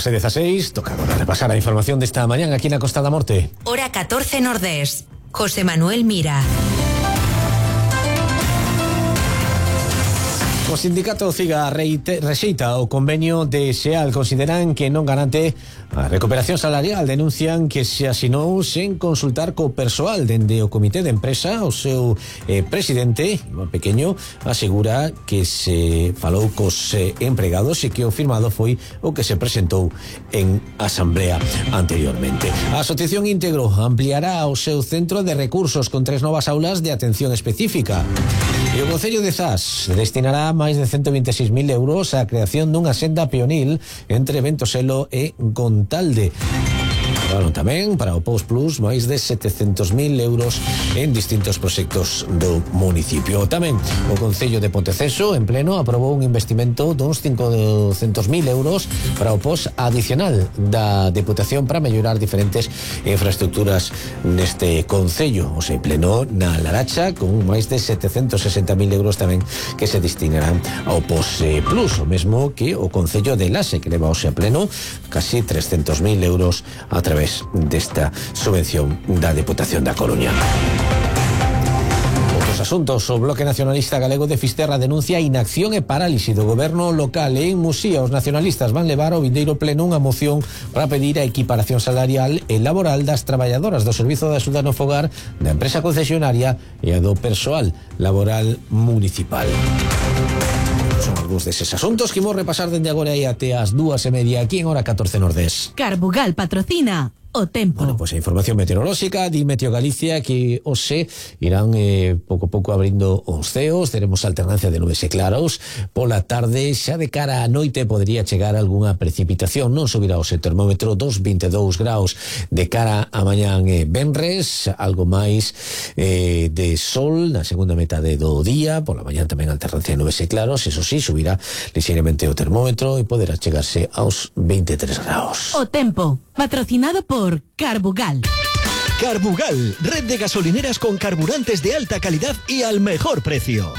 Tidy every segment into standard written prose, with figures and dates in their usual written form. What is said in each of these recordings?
2:16, toca agora repasar a información desta mañán aquí na Costa da Morte. Hora 14 Nordés. José Manuel Mira. O sindicato CIGA rexeita o convenio de SEAL. Consideran que non garante a recuperación salarial. Denuncian que se asinou sen consultar co persoal. Dende o comité de empresa, o seu presidente, Iván Pequeño, asegura que se falou cos empregados e que o firmado foi o que se presentou en asamblea anteriormente. A Asociación Íntegro ampliará o seu centro de recursos con 3 novas aulas de atención específica. E o Concello de Zas destinará máis de 126.000 euros á creación dunha senda peonil entre Ventoselo e Gontalde. Bueno, tamén para o Post Plus máis de 700.000 euros en distintos proxectos do municipio. Tamén o Concello de Ponteceso en pleno aprobou un investimento duns 500.000 euros para o post adicional da Deputación para mellorar diferentes infraestructuras neste concello. O sea, en pleno na Laracha con máis de 760.000 euros tamén que se destinarán ao Post Plus, o mesmo que o Concello de Laxe, que leva a pleno casi 300.000 euros a través desta subvención da Deputación da Coruña. Outros asuntos. O Bloque Nacionalista Galego de Fisterra denuncia inacción e parálise do goberno local. En Muxía, os nacionalistas van levar ao vindeiro pleno unha moción para pedir a equiparación salarial e laboral das traballadoras do Servizo de Axuda no Fogar, da empresa concesionaria e a do persoal laboral municipal. Son algúns deses asuntos que imos repasar dende agora e até as 2:30 aquí en Hora 14 Nordés. Carbugal patrocina o tempo. Bueno, pues a información meteorolóxica di Meteo Galicia que hoxe irán pouco a pouco abrindo os ceos, teremos alternancia de nubes e claros pola tarde, xa de cara á noite podería chegar algunha precipitación, non subirá o termómetro dos 22 graus de cara a mañán venres, algo máis de sol na segunda metade do día, pola mañán tamén alternancia de nubes e claros, eso sí, subirá lixeiramente o termómetro e poderá chegarse aos 23 graus. O tempo, patrocinado por Carbugal. Carbugal, red de gasolineras con carburantes de alta calidad y al mejor precio.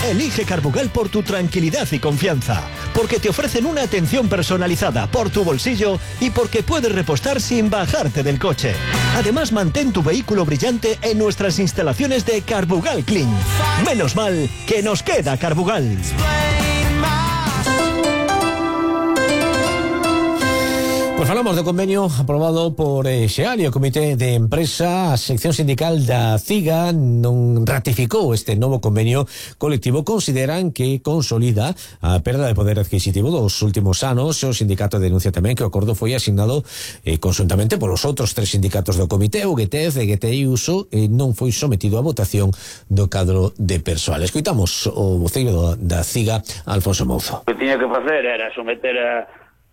Elige Carbugal por tu tranquilidad y confianza, porque te ofrecen una atención personalizada por tu bolsillo y porque puedes repostar sin bajarte del coche. Además, mantén tu vehículo brillante en nuestras instalaciones de Carbugal Clean. Menos mal que nos queda Carbugal. Pues falamos do convenio aprobado por SEAL e o Comité de Empresa. A sección sindical da CIGA non ratificou este novo convenio colectivo. Consideran que consolida a perda de poder adquisitivo dos últimos anos. O sindicato denuncia tamén que o acordo foi asignado conjuntamente polos outros 3 sindicatos do comité, o GTEZ, EGT e USO, e non foi sometido a votación do cadro de persoal. Escoitamos o voceiro da CIGA, Alfonso Mouzo. O que tiña que facer era someter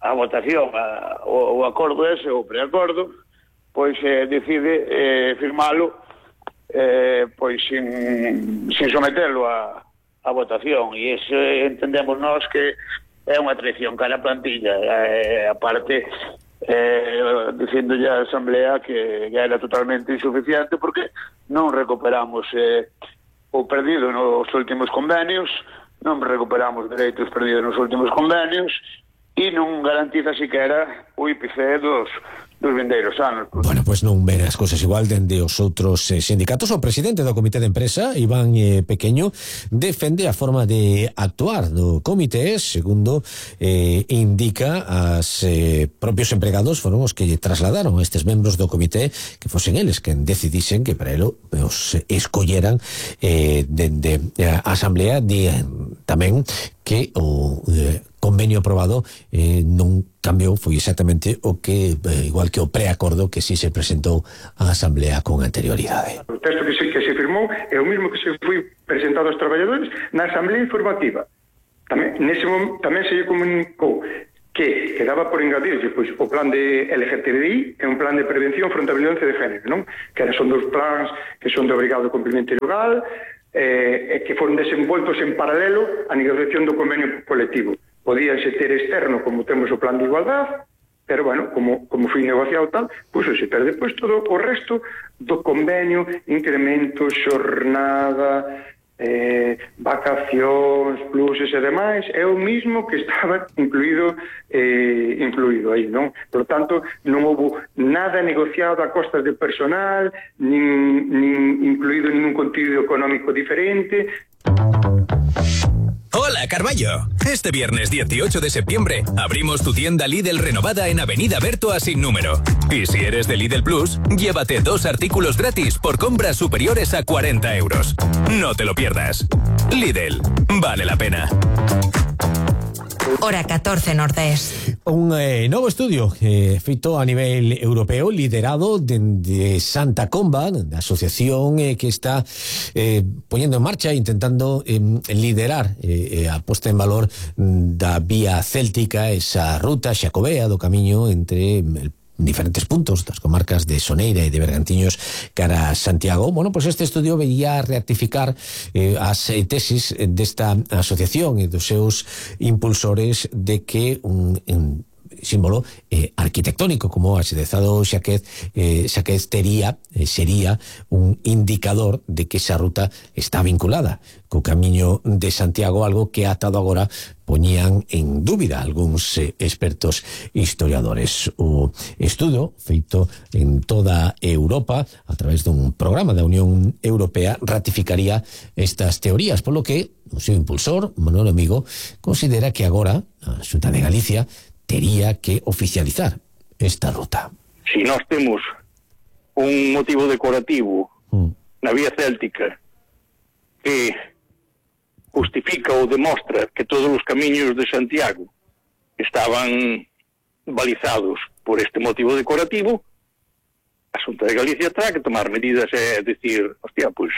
a votación o acordo ese, o preacordo, pois decide firmalo pois sin sometelo a votación, e iso entendemos nós que é unha traición cara a plantilla, aparte dicindo ya a Asamblea que era totalmente insuficiente porque non recuperamos o perdido nos últimos convenios, non recuperamos dereitos perdidos nos últimos convenios e non garantiza siquera o IPC dos vindeiros anos. Bueno, pues non ven as cousas igual dende os outros sindicatos. O presidente do Comité de Empresa, Iván Pequeño, defende a forma de actuar do comité, segundo indica as propios empregados foron os que trasladaron a estes membros do comité que fosen eles quen decidisen que para elo os escolleran dende a Asamblea. Tamén que o convenio aprobado non cambiou, foi exactamente o que igual que o preacordo que si se presentou á Asamblea con anterioridade. O texto que se firmou é o mesmo que se foi presentado aos traballadores na Asamblea Informativa. Tamén se lle comunicou que quedaba por engadirlle pois, o plan de LGTBI e un plan de prevención fronte á violencia de género, non? Que son dos plans que son de obrigado cumprimento legal e que foron desenvoltos en paralelo á negociación do convenio colectivo. Podíanse ter externo como temos o plan de igualdade, pero bueno, como foi negociado tal, pois se perde depois todo o resto do convenio, incremento, xornada, vacacións, pluses e demais, é o mismo que estaba incluído aí, non? Por tanto, non houve nada negociado a costas de personal, nin incluído ningún contido económico diferente. Hola, Carballo. Este viernes 18 de septiembre abrimos tu tienda Lidl renovada en Avenida Bertoa sin número. Y si eres de Lidl Plus, llévate 2 artículos gratis por compras superiores a 40 euros. No te lo pierdas. Lidl, vale la pena. Hora 14 Nordés. Un novo estudio feito a nivel europeo, liderado de Santa Comba, da asociación que está poñendo en marcha, intentando liderar a posta en valor da vía céltica, esa ruta xacobea do camiño entre diferentes puntos das comarcas de Soneira e de Bergantiños cara a Santiago. Bueno, pues este estudio veía rectificar as tesis desta asociación e dos seus impulsores de que un símbolo arquitectónico como o axedezado Xaquez sería un indicador de que esa ruta está vinculada co camiño de Santiago, algo que atado agora poñían en dúbida algúns expertos historiadores. O estudo feito en toda Europa a través dun programa da Unión Europea ratificaría estas teorías, polo que o seu impulsor, Manuel Amigo, considera que agora a Xunta de Galicia tería que oficializar esta ruta. Si nós temos un motivo decorativo na vía céltica que justifica ou demostra que todos os camiños de Santiago estaban balizados por este motivo decorativo, a Xunta de Galicia terá que tomar medidas e decir, hostia, pois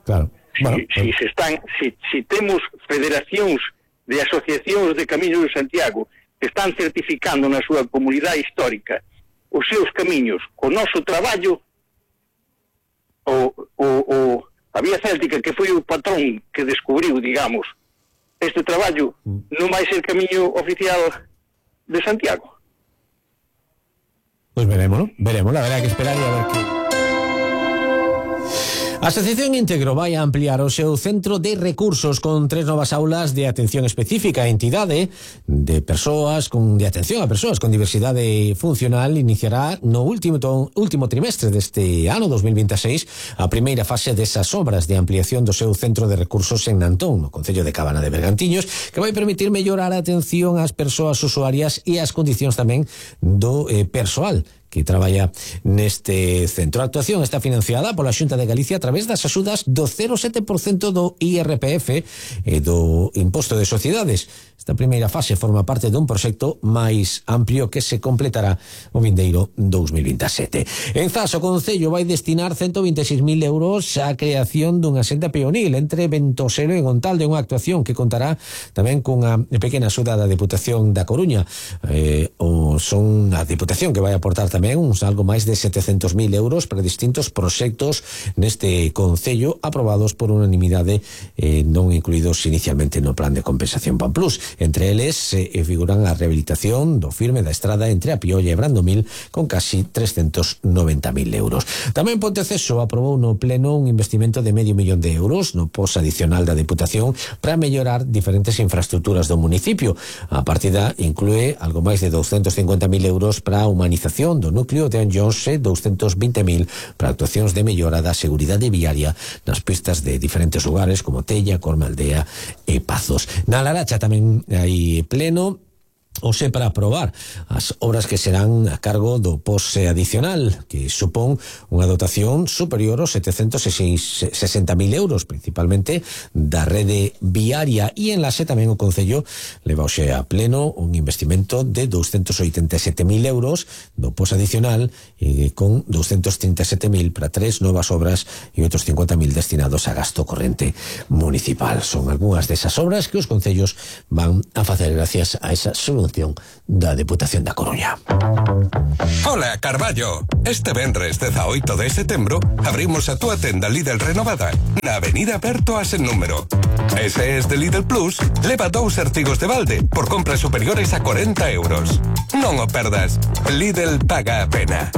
claro. Si temos federacións de asociacións de camiños de Santiago que están certificando na súa comunidade histórica os seus camiños co noso traballo, a vía céltica, que foi o patrón que descubriu, digamos, este traballo, non vai ser camiño oficial de Santiago. Pois veremos, haberá que esperar e a ver que... A Asociación Íntegro vai a ampliar o seu centro de recursos con 3 novas aulas de atención específica a entidade de atención a persoas con diversidade funcional. Iniciará no último trimestre deste ano 2026 a primeira fase desas obras de ampliación do seu centro de recursos en Nantón, no concello de Cabana de Bergantiños, que vai permitir mellorar a atención ás persoas usuarias e as condicións tamén do persoal que traballa neste centro. A actuación está financiada pola Xunta de Galicia a través das axudas do 0,7% do IRPF e do Imposto de Sociedades. Esta primeira fase forma parte dun proxecto máis amplio que se completará o vindeiro 2027. En Zas, o Concello vai destinar 126.000 euros á creación dunha senda peonil entre Ventoselo e Gontalde, unha actuación que contará tamén cunha pequena axuda da Deputación da Coruña. Son a Deputación que vai aportar tamén algo máis de 700.000 euros para distintos proxectos neste Concello aprobados por unanimidade, non incluídos inicialmente no plan de compensación PAN Plus. Entre eles figuran a rehabilitación do firme da estrada entre a Piolla e Brandomil con casi 390.000 euros. Tamén Ponteceso aprobou no pleno un investimento de €500.000 no pos adicional da Deputación para mellorar diferentes infraestructuras do municipio. A partida inclúe algo máis de 250.000 euros para a humanización do núcleo de Anllóns e 220.000 para actuacións de mellora da seguridade viaria nas pistas de diferentes lugares como Tella, Cormealdea e Pazos. Na Laracha tamén hai pleno Ose para aprobar as obras que serán a cargo do POS adicional, que supón unha dotación superior aos 760.000 euros, principalmente da rede viaria. E en Lase tamén o Concello leva hoxe a pleno un investimento de 287.000 euros do POS adicional, con 237.000 para 3 novas obras e outros 50.000 destinados a gasto corrente municipal. Son algunhas desas obras que os concellos van a facer gracias a esa subvención da Deputación da Coruña. Hola, Carballo. Este venres 18 de setembro abrimos a túa tenda Lidl renovada na Avenida Bertoa sen número. Ese es de Lidl Plus, leva 2 artigos de balde por compras superiores a 40 euros. Non o perdas. Lidl paga a pena.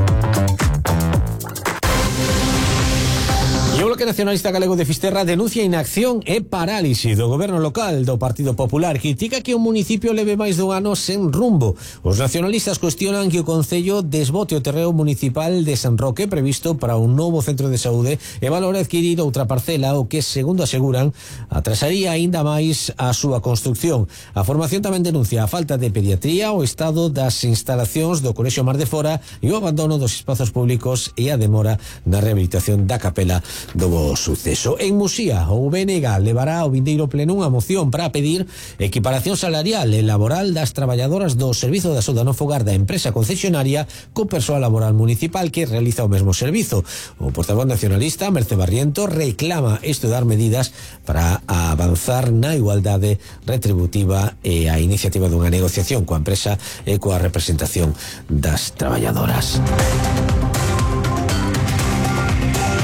E o Bloque Nacionalista Galego de Fisterra denuncia inacción e parálise do goberno local do Partido Popular. Critica que o municipio leve máis dun ano sen rumbo. Os nacionalistas cuestionan que o Concello desbote o terreo municipal de San Roque previsto para un novo centro de saúde e valora adquirir outra parcela, o que, segundo aseguran, atrasaría aínda máis a súa construcción. A formación tamén denuncia a falta de pediatría, o estado das instalacións do Colexio Mar de Fora e o abandono dos espazos públicos e a demora na rehabilitación da capela do bo suceso. En Muxía, o BNG levará ao vindeiro pleno unha moción para pedir equiparación salarial e laboral das traballadoras do Servizo de Axuda no Fogar da empresa concesionaria co persoal laboral municipal que realiza o mesmo servizo. O portavoz nacionalista, Merce Barriento, reclama estudar medidas para avanzar na igualdade retributiva e a iniciativa dunha negociación coa empresa e coa representación das traballadoras.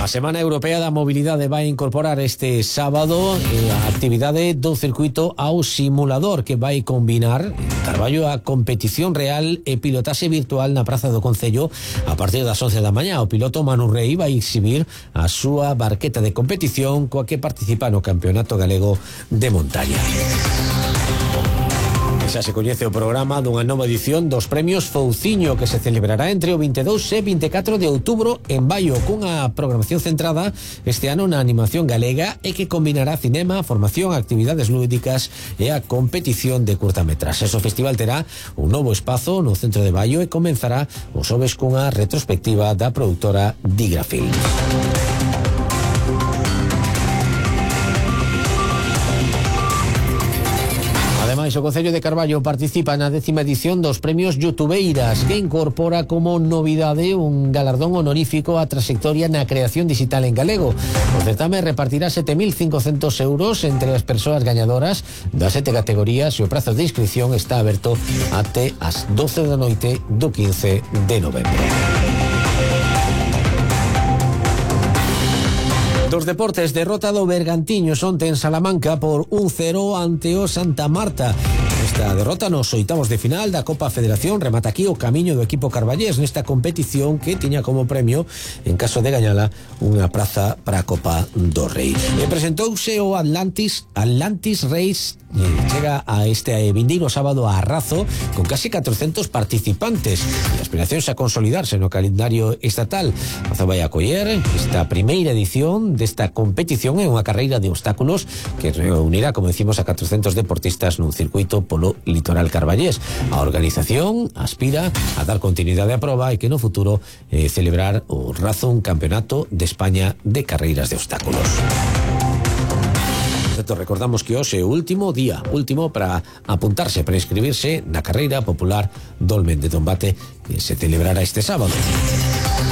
A Semana Europea da Mobilidade vai incorporar este sábado a actividade do circuito ao simulador, que vai combinar Carballo a competición real e pilotaxe virtual na Praza do Concello a partir das 11 da mañá. O piloto Manu Rey vai exhibir a súa barqueta de competición coa que participa no Campeonato Galego de Montaña. Xa se coñece o programa dunha nova edición dos Premios Fouciño, que se celebrará entre o 22 e 24 de outubro en Baio, cunha programación centrada este ano na animación galega e que combinará cinema, formación, actividades lúdicas e a competición de curtametraxes. O festival terá un novo espazo no centro de Baio e comenzará o xoves cunha retrospectiva da produtora Digra Films. Ademais, o Concello de Carballo participa na 10ª edición dos Premios Youtubeiras, que incorpora como novidade un galardón honorífico á trayectoria na creación digital en galego. O certame repartirá 7.500 euros entre as persoas gañadoras das 7 categorías e o prazo de inscripción está aberto até as 12 da noite do 15 de novembro. Dos deportes, derrota do Bergantiños onte en Salamanca por 1-0 ante o Santa Marta. Esta derrota nos oitavos de final da Copa Federación remata aquí o camiño do equipo carballés nesta competición que tiña como premio, en caso de gañala, unha praza para a Copa do Rei. E presentouse o Atlantis Race. Chega a este vindeiro sábado a Arrazo con casi 400 participantes e aspiracións a consolidarse no calendario estatal. Arrazo vai acoller esta primeira edición desta competición en unha carreira de obstáculos que reunirá, como decimos, a 400 deportistas nun circuito polo litoral carballés. A organización aspira a dar continuidade á proba e que no futuro celebrar o Razo un campeonato de España de carreiras de obstáculos. Recordamos que hoxe é o último día para apuntarse, para inscribirse na carreira popular Dolmen de Dombate que se celebrará este sábado.